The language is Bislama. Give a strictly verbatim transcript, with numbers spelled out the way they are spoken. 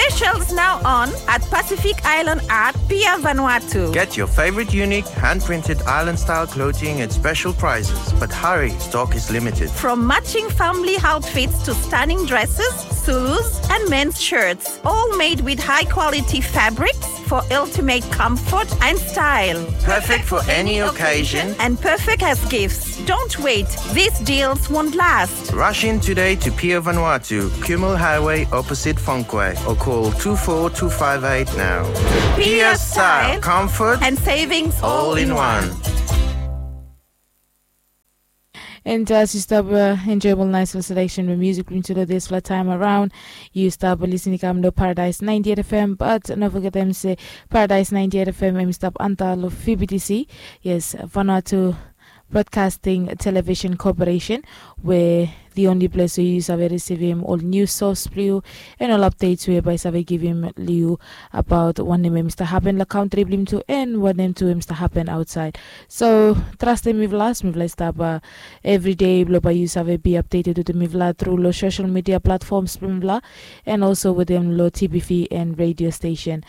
Specials now on at Pacific Island Art, Pier Vanuatu. Get your favorite unique hand-printed island-style clothing at special prices, but hurry, stock is limited. From matching family outfits to stunning dresses, Zulus, and men's shirts, all made with high-quality fabrics for ultimate comfort and style. Perfect for any occasion and perfect as gifts. Don't wait, these deals won't last. Rush in today to Pier Vanuatu, Kumul Highway, opposite Fonquay, or call two four two five eight now. Pier style, comfort, and savings all in one. And as yu stap uh, enjoyable nice selection with music from today this flat time around, yu stap listening kam lo Paradise ninety-eight F M, but no forget them say Paradise ninety-eight F M em stap anta lo V B T C. Yes, Vanuatu Broadcasting Television Corporation, where the only place where you save receive him all news source blue and all updates whereby save give him liu about one name Mr. Happen la country blim to and one name to Mr. Happen outside. So trust him with last, with last up uh, every day blo by you save be updated with the mivla through lo social media platforms blim bla, and also with them lo T V and radio station.